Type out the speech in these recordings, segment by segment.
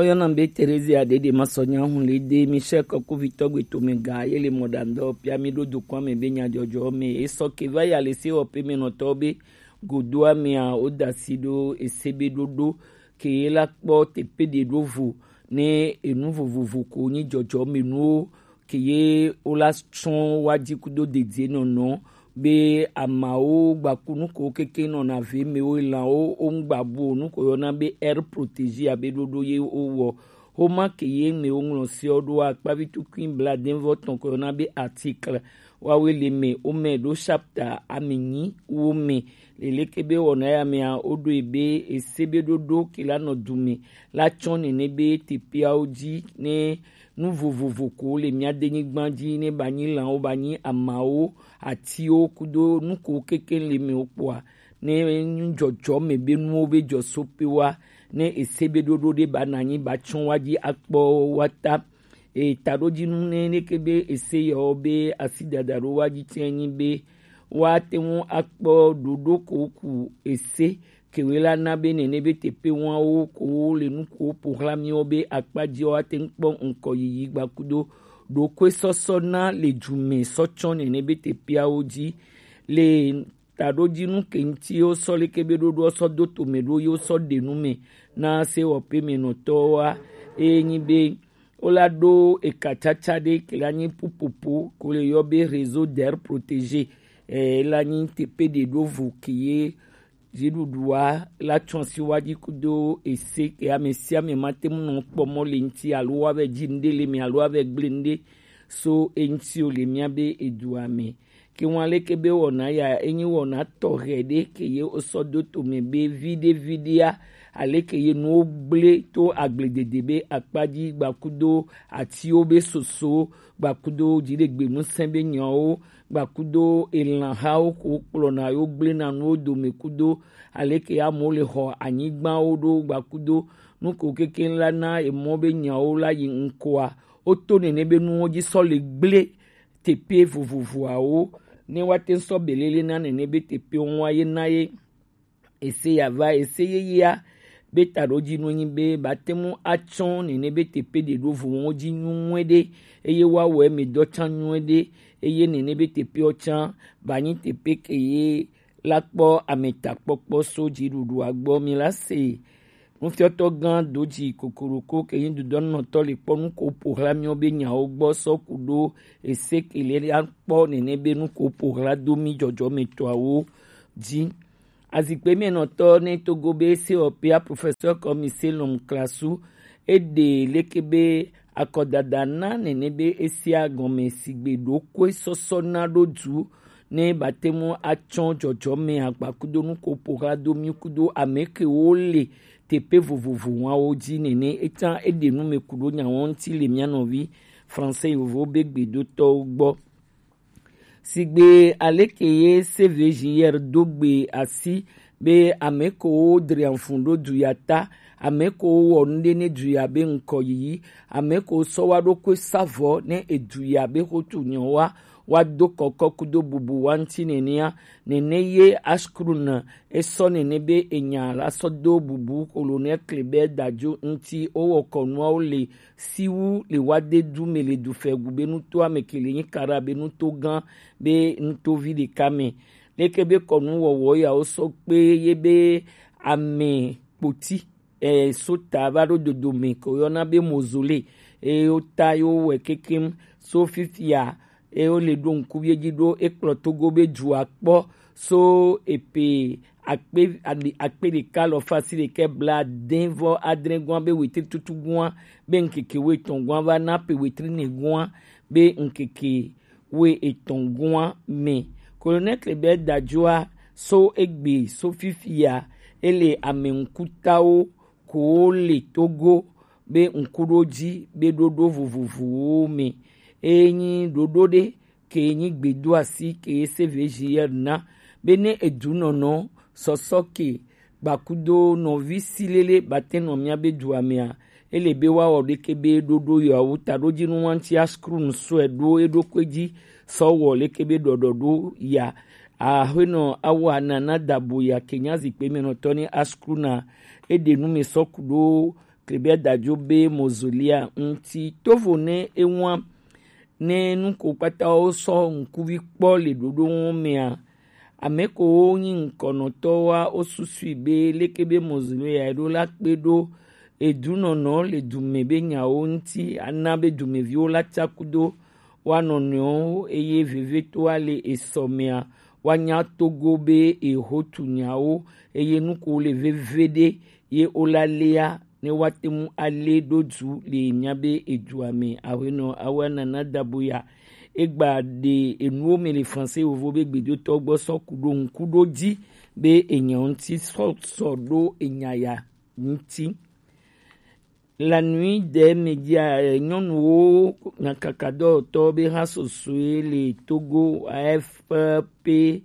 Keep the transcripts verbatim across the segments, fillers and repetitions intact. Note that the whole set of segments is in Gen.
Oyɔna be Terezia ɖeɖe ma sɔ nya hun le de Michel Kɔkuvitɔ gbe tome ga ye le mɔɖaŋdɔ pia mi ɖo dokɔn me be nyadzɔdzɔ me esɔ ke va ya le se wɔ pe me nɔtɔ be godoa mea o da si ɖo ese be ɖoɖo ke ye la kpɔ tepe ɖe ɖo vo ne enu vovovo ko nyi dzɔdzɔ me nuwo ke ye wola tsɔ wa dzi kudo dedie nɔnɔ be amawo gbaku nuko keke nɔna ve mewo lãwo wo ŋgba bu o nuko yɔna be air protégé abe ɖoɖo ye wowɔ. Homa ke ye me woŋlɔ seɔ ɖo akpavi tukui bladenvɔ tɔn ko yɔna be article wawe le me wome ɖo chapter amenyi wo me leleke be wɔna ya mea woɖo ebe ese be ɖoɖo ke la nɔ du me la tsɔ nene be tepeawo dzi ne nu vovovo ko le mía denyigba dzi ne ba nyi lãwo ba nyi amawo atiwo kudo nu ko keke le me wo kpɔa ne nu dzɔdzɔ me be nuwo be dzɔ so pe wa ne ese be ɖoɖo ɖe ba na nyi ba tsɔ wa dzi akpɔ wa ta. E taɖodzinu ne neke be ese yawo be asi dada ɖo wa dzi tse nyi be woate ŋu akpɔ ɖoɖo ko ku ese kewe la na be nene be teƒe wɔawo ko le nu ko ƒo xlã míwo be akpa dzi woate ŋu kpɔ ŋkɔ yiyi gbakudo ɖokoesɔsɔ na le du me sɔ tsɔ nene be teƒeawo dzi le taɖodzinu ke ŋuti wosɔ leke be ɖoɖoa sɔ do tome ɖo ye wosɔ ɖe nu me na sewɔƒemenɔtɔwoa eye nyi be wola ɖo eka tsatsa ɖe ke la nyi pupopo ko le yɔ be réseau d'air protégé eh, la nyi teƒe ɖe ɖo vo ke ye dziɖuɖua la tsɔ si wa dzi kudo ese ke ame sia ame ma te ŋu nɔ kpɔ mɔ le ŋuti alo wa vɛ dzi ŋɖe le me alo wa vɛ gble ŋɖe so eŋuti o le mía be edua me. Ke ŋu aleke be wɔna ya enyi wɔna tɔxɛ ɖe ke ye wosɔ do tome be viɖe viɖea aleke ye nuwo gblẽ to agbledede be akpa dzi gbakudo atiwo be soso gbakudo dziɖegbe ŋusẽ be nyawo gbakudo elãhawo ko kplɔna yo gblẽna nuwo dome kudo aleke amewo le xɔ anyigbawo ɖo gbakudo nu ko kekeŋ la na emɔ be nyawo la yi ŋkɔa woto nene be nuwo dzi sɔ le gblẽ teƒe vovovoawo ne woate ŋu sɔ belele na nene be teƒewo ŋua ye na ye ese ya va ese yeyea be taɖodzinu nyi be bate ŋu atsɔ nene be teƒe ɖe ɖo vowo dzi nyuie ɖe eye woawɔ eme dɔ tsã nyuie ɖe eye nene be teƒewo tsã ba nyi teƒe ke ye la kpɔ ametakpɔkpɔ so dziɖuɖua gbɔ mi la se Nufiɔtɔ gã do dzi kokoroko ke nyi dudɔnɔtɔ le kpɔ nu ko ƒo xlã míwo be nyawo gbɔ sɔ ku ɖo ese ke le akpɔ nene be nu ko ƒo xlã do mí dzɔdzɔmetɔawo dzi. Azikpe mienɔtɔ ne togo be sewɔƒea professeur Kɔmi Selom Klasu eɖe leke be akɔdada na nene be esia gɔme sigbe ɖokoe sɔsɔ na ɖo du ne bate ŋu atsɔ dzɔdzɔme agbakudo nu ko ƒo xlã do mí kudo ame kewo le teƒe vovovo wawo dzi nene. Etsã eɖe nu me ku ɖo nyawo ŋuti le mía nɔvi français yovo be gbedotɔwo gbɔ. Sigbe aleke ye C V J R do gbe asi be ame kewo dre afun ɖo du ya ta, ame kewo wɔ nu ɖe ne du ya be ŋkɔ yiyi, ame kewo sɔ wa ɖokui sa vɔ ne edu ya be xotu nyɔ wa wa do kɔkɔ kudo bubu wa ŋuti nenea, nene ye Ashkrun esɔ nene be enya la sɔ do bubu Kolonel Kleber Dadzo ŋuti wowɔ kɔnuawo le siwu le wade du me le du fɛgu be nutoa me ke le nyi kara be nuto gã be nutovi ɖeka me. Leke be kɔnu wɔwɔ ya wo sɔ kpe ye be ame kpoti eh, sota va ɖo dodo me ke woyɔna be mozole eye wota ye wowɔe kekem so fifia eye wole ɖo ŋku ye dzi ɖo ekplɔ togo be dua kpɔ so epe akpe ali- akpe ɖeka alɔfa asi ɖeka blaade vɔ adre gɔa be wetri tutu gɔa be ŋkeke woetɔn gɔa va na pe wetri ne gɔa be ŋkeke woe etɔn gɔa me. Colonel Kleber Dadjoa so egbe so fifia ele ame ŋkutawo ko le Togo be ŋkuɖodzi be ɖoɖo vovovowo me. Eye nyi ɖoɖo ɖe ke nyi gbedoasi ke C V J R na be ne edunɔnɔ sɔsɔ ke gbakudo nɔvi silele bate nɔ mía be dua mea, ele be woawɔ ɖeke be ɖoɖo yeawo taɖodzinu wa ŋuti Ashkrun sɔe ɖo eɖokui dzi sɔ wɔ leke be ɖɔɖɔɖo ya. Aƒenɔ Awa Nana Dabo ya ke nya zikpui me nɔtɔ ne Ashkruna eɖe nu me sɔ ku ɖo Trebia dajo be mozolea ŋuti. Tovo ne ewa ne nuko kpata wo sɔ ŋkuvi kpɔ le ɖoɖo ŋu mea, ame ko wo nyi ŋkɔnɔtɔwoa wo susui be leke be mozolea eɖo la kpe ɖo edunɔnɔ le dume be nyawo ŋuti ana be dumeviwo la tsaku do woa nɔnɔewo eye vevetoa le esɔ mea woanya Togo be ehotu nyawo eye nuko le veve ɖe ye wola lea ne woate ŋu alé ɖo du le míabe edua me. Aƒenɔ Awana Nadabuya egba ɖe enuwo me le Fransé Yovo be gbedotɔ gbɔ sɔ ku ɖo ŋku ɖo dzi be enya ŋuti sɔ sɔ ɖo enya ya ŋuti. La nuit des médias, nyɔnuwo nyakakadɔwɔtɔ be ha sosoe le Togo A F P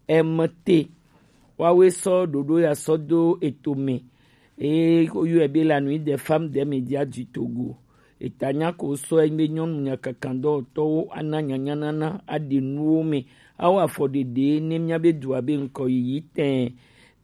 M T. Woawoe sɔ ɖoɖo ya sɔ do eto me. Eye woyɔe be la nuit des femmes des médias du Togo. Eta nya ko sɔ enyi be nyɔnu nyakakandɔwɔtɔwo ana nyanyanana aɖe nuwo me. Awo afɔɖeɖe ne míabe dua be ŋkɔ yiyi tɛɛ.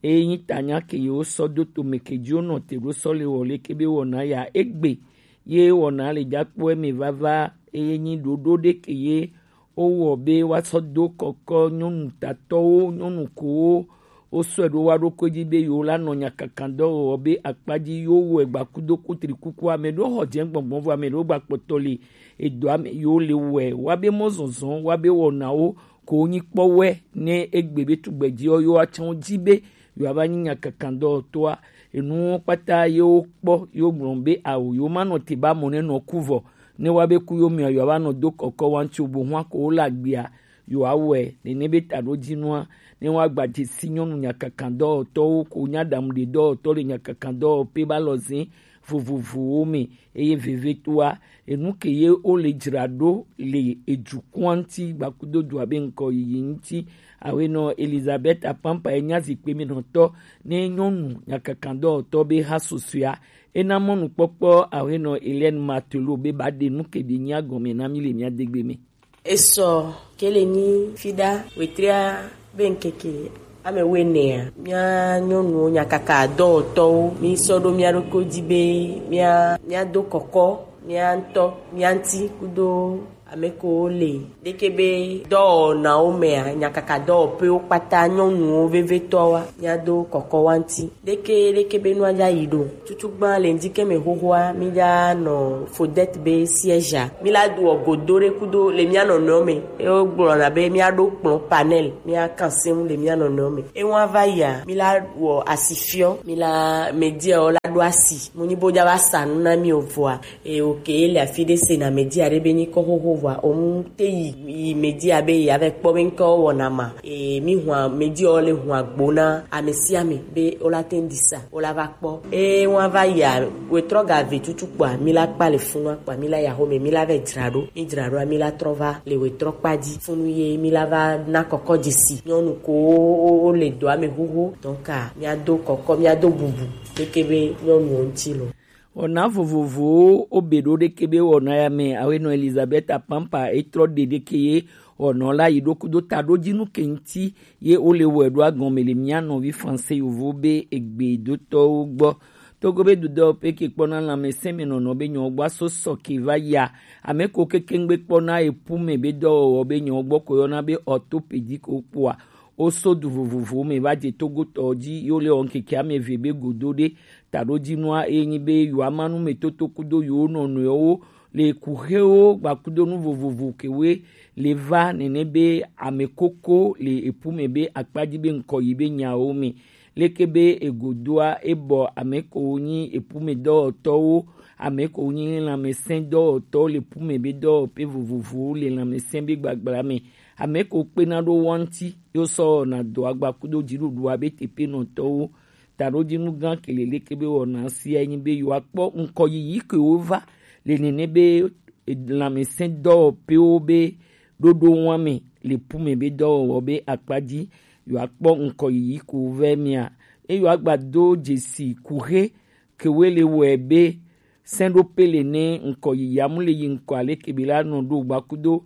Eye nyi tanya ke yewo sɔ do tome ke dzi wonɔ te ɖo sɔ le wɔ leke be wɔna ya egbe. Ye wɔna le dza kpɔ eme vava eye nyi ɖoɖo ɖe ke ye wowɔ be woasɔ do kɔkɔ nyɔnu tatɔwo, nyɔnu kowo wosɔe ɖo woa ɖokui dzi be yewo la nɔ nyakakan dɔ wɔwɔ be akpa dzi yewo wɔe gbakudo kutri kuku ame ɖewo xɔ dze gbɔngbɔn vɔ ame ɖewo gba kpɔtɔ le edɔ ame yewo le wɔe wa be mɔ zɔzɔ wa be wɔnawo ko nyi kpɔ wɛ ne egbe be tugbɛ dzi yewo atsɔ dzi be yewo ava nyi nyakakan dɔwɔtɔa. Enuwo kpata yewo kpɔ yewo gblɔ be awo yewo ma nɔ te ba mɔ ne nɔ ku vɔ ne wa be ku yewo mia yewo ava nɔ do kɔkɔ wa ŋuti o bo hwa ko wo le agbea yewo awɔe nene be taɖodzinua ne wa gba dzesi nyɔnu nyakakan dɔwɔtɔwo ko nya ɖamu ɖe dɔwɔtɔ le nyakakan dɔwɔƒe ba lɔ zin vovovowo me eye vevetoa enu ke ye wo le dzra ɖo le edukɔa ŋuti gbakudo dua be ŋkɔ yiyi ŋuti. Awenɔ Elizabeth Apampa ye nya zikpe mi nɔtɔ ne nyɔnu nyakakan dɔwɔtɔ be ha susɔea ena mɔnukpɔkpɔ awenɔ Hélène Martello be ba ɖe nu ke ɖe nya gɔme na mi le mia degbe me. Esɔ ke le nyi fiɖa wetria be ŋkeke ame wuienea mía nyɔnuwo nyakaka dɔwɔtɔwo mi sɔ ɖo mía ɖokui dzi be mía mía do kɔkɔ mía ŋutɔ mía ŋuti kudo ame kewo le ɖeke be dɔwɔnawo mea nyakaka dɔwɔƒewo kpata nyɔnuwo vevetɔwoa mía do kɔkɔ wa ŋuti ɖeke ɖeke be nua dza yi ɖo. Tutugbã le ŋdi ke me xoxoa mi dza nɔ fodɛt be siège a mi la doɔ godo ɖe kudo le mía nɔnɔewo me. Ye wogblɔna be mía ɖo kplɔ panel mía kan se ŋu le mía nɔnɔewo me. Ewa va yia mi la wɔ asifiɔ mi la media wo la ɖo asi mo nyi bo dza va sa nu na mi o vɔa. E oke le afi ɖe se na media ɖe be nyi kɔ xoxo vɔa o mu te yi yi media be ya vɛ kpɔ be ŋkɔ wɔna ma. E mi hwa media wo le hwa gbo na ame sia ame be wo la te ŋdi sa. Wo la va kpɔ eye wọn va yia wetrɔ ga ve tutu kpɔa mi la kpa le funua kpɔa mi la ya xome mi la vɛ dzra ɖo mi dzra ɖoa mi la trɔ va le wetrɔ kpa dzi funu ye mi la va na kɔkɔ dzesi nyɔnu ko wo le dɔa me xoxo donc a mia do kɔkɔ mia do bubu leke be nyɔnuwo ŋuti lo. Wɔna vovovowo wobe ɖo ɖeke be wɔna ya me awenɔ Elizabeth Apampa etrɔ ɖe ɖeke ye wɔnɔ la yi ɖo kudo taɖodzinu ke ŋuti ye wole wɔe ɖo agɔme le mía nɔvi Fransé yovo be egbedotɔwo gbɔ. Togo be dudɔ pe ke kpɔna lãmesẽ me nɔnɔ be nyɔ gbɔ aso sɔ ke va ya. Ame ko keke ŋgbe kpɔna epu me be dɔwɔwɔ be nyɔ gbɔ ko yɔna be orthopédie ko kpɔa. Wo so du vovovowo me va dze Togo tɔ dzi yo le wɔ ŋkeke ame eve be godo ɖe taɖodzinua ye nyi be yewoama nu me toto kudo yewo nɔnɔewo le kuxewo gbakudo nu vovovo kewoe le va nene be ame koko le epu me be akpa dzi be ŋkɔ yi be nyawo me. Leke be egodoa ebɔ ame ko nyi epu me dɔwɔtɔwo ame ko nyi lãmesẽ dɔwɔtɔwo le epu me be dɔwɔƒe vovovowo le lãmesẽ be gbagbla me. Ame ko kpena ɖo wo ŋuti yo sɔ wɔna dɔa gbakudo dziɖuɖua be teƒenɔtɔwo. Taɖodzinu gã ke le leke be wɔna sia nyi be yewoakpɔ ŋkɔ yiyi ke wova le nene be lãmesẽ dɔwɔƒewo be ɖoɖo wa me le pu me be dɔwɔwɔ be akpa dzi yewoakpɔ ŋkɔ yiyi ko vɛ mia eye yewoagba do dzesi kuxe kewoe le wɔe be sɛ̃ɖoƒe le ne ŋkɔ yiyi amu le yi ŋkɔ aleke be la nɔ ɖo gbakudo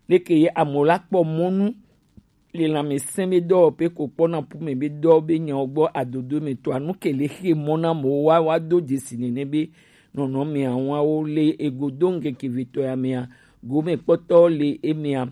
leke ye amewo la kpɔ mɔnu le lanmɛsɛn be dɔ pe ko kpɔ na pume be dɔ be nyawo gbɔ adodo me to anu ke le xe mɔ na mo wa wa do dzesi nene be nɔnɔ me awa wo le ego do ŋkeke vetɔ ya me a gome kpɔtɔ le eme a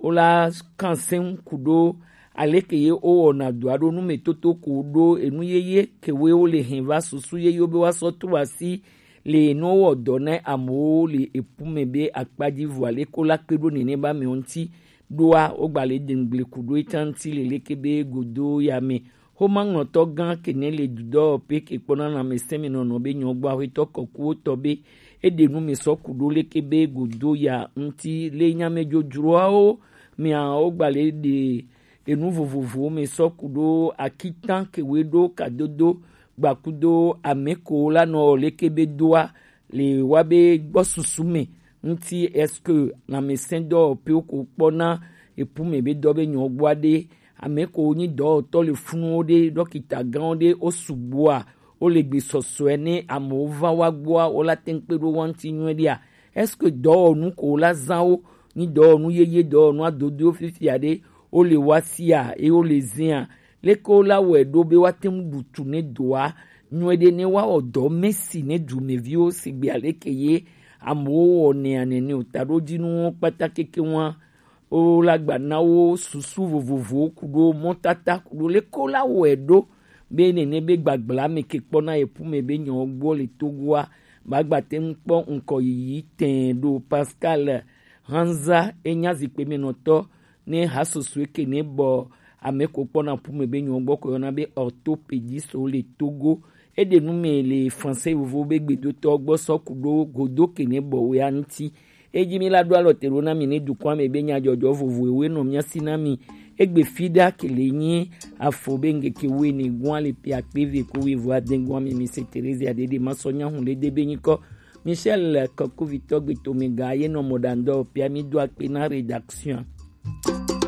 wo la kan sɛn ku ɖo aleke ye wo wɔna do aɖo nu me toto ko ɖo enu yeye ke we wo le hɛn va susu yeye wo be wa sɔ to asi le nu wɔ dɔ na amewo le epu me be akpadzi vɔ aleke wo la kpe ɖo nene ba me ŋuti ɖoa wo gba le dengble ku ɖo eta ŋuti le leke be godo ya me. Xoma ŋlɔtɔ gã kene le dudɔ pe ke kpɔna na me sɛmi nɔnɔ be nyɔ gbɔ aƒetɔ kɔkuwo tɔ be eɖe nu mi sɔ ku ɖo leke be godo ya ŋuti le nyame dzodzroawo mia wo gba le ɖe enu vovovowo mi sɔ ku ɖo akitan kewe ɖo kadodo gbakudo ameko la nɔ leke be doa le wa be gbɔ susu me ŋuti est-ce que lãmesẽdɔwɔƒewo ko kpɔna epu me be dɔ be nyɔ gbɔ aɖe ame ko nyi dɔwɔtɔ le funuwo ɖe dɔkita gãwo ɖe wo sugbɔa wo le gbe sɔsɔe ne amewo va wa gbɔa wo la te ŋu kpe ɖo wa ŋuti nyuie ɖea est-ce que dɔwɔnu ko wo la zã wo nyi dɔwɔnu yeye dɔwɔnu adodowo fifia ɖe wo le wa sia eye wo le zẽa leke wo la wɔe ɖo be woate ŋu ɖu tu ne doa nyuie ɖe ne woawɔ dɔ mesi ne dumeviwo sigbe aleke ye amewo wɔnɛa nene o taɖodzinuwo kpata keke ŋua wo la gba na wo susu vovovowo ku ɖo mɔtata ku ɖo leke wo la wɔe ɖo be nene be gbagbla me ke kpɔna ye ƒume be nyɔwo gbɔ le togoa ba gba te ŋu kpɔ ŋkɔ yiyi tɛɛ ɖo Pascal Hanza enya zikpe me nɔtɔ ne hasoso eke ne bɔ ame ko kpɔna ƒume be nyɔwo gbɔ ko yɔna be orthopédiste wo le Togo eɖe nu me le français vovo be gbedotɔ gbɔ sɔ ku ɖo godo ke ne bɔ wea ŋuti edzi mi la ɖo alɔ te ɖo na mi ne dukɔa me be nyadzɔdzɔ vovo ewe nɔ mia si na mi egbe fi ɖa ke le nyi afɔ be ŋgeke we ne gua le pia kpe ve ko we vɔ ade gua me mi se Teresa ɖeɖe ma sɔ nya hu le de be nyikɔ Michel Kɔkuvitɔ Gbetomega ye nɔ mɔɖaŋdɔ pia mi do akpe na rédaction.